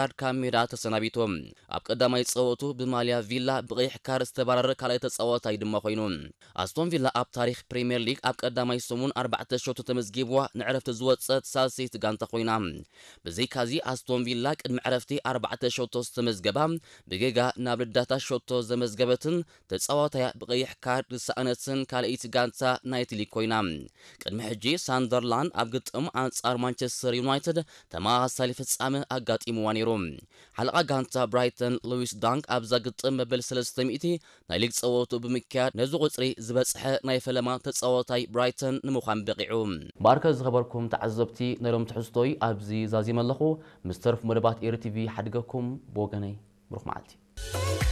ካርድ ካብ ሜዳ ተሰናቢቱ። ኣብ ቀዳማይ ጸወቱ ብማልያ ቪላ ብቐይሕ ካርድ ዝተባረረ ካልኣይ ተጻዋታይ ድማ ኮይኑ። ኣስቶን ቪላ ኣብ ታሪኽ ፕሪምየር ሊግ ኣብ ቀዳማይ ሰሙን ኣርባዕተ ሸቶ ተመዝጊብዋ ንዕረፍቲ ዝወጸት ሳልሰይቲ ጋንታ ኮይና። ብዘይካዚ ኣስቶን ቪላ ቅድሚ ዕረፍቲ ኣርባዕተ ሸቶ ዝተመዝገባ ብጌጋ ናብ ልዳታ ሸቶ ዘመዝገበትን ተጻዋታያ ብቐይሕ ካርድ ዝሰኣነትን ካልኣይቲ ጋንታ ናይቲ ሊግ ኮይና። ቅድሚ ሕጂ ሳንደርላንድ ኣብ ግጥም ኣንጻር ማንቸስተር ዩናይትድ ተመሳሳሊ ፍጻመ ኣጋጢምዋ ነይሩ። ሓለቓ ጋንታ ብራይተን ሉዊስ ዳንክ ኣብዛ ግጥም መበል ሰለስተ ሚእቲ ናይ ሊግ ጸወቱ ብምክያድ ነዚ ቁጽሪ ዝበጽሐ ናይ ፈለማ ተጻዋታይ ብራይተን ንምዃን በቒዑ። ባርከ ዝኸበርኩም ተዓዘብቲ ናይ ሎም ትሕዝቶይ ኣብዚ ዛዚመ ኣለኹ። ምስ ተርፍ መደባት ኤሪ ቲቪ ሓድገኩም ብወገነይ ብሩኽ መዓልቲ።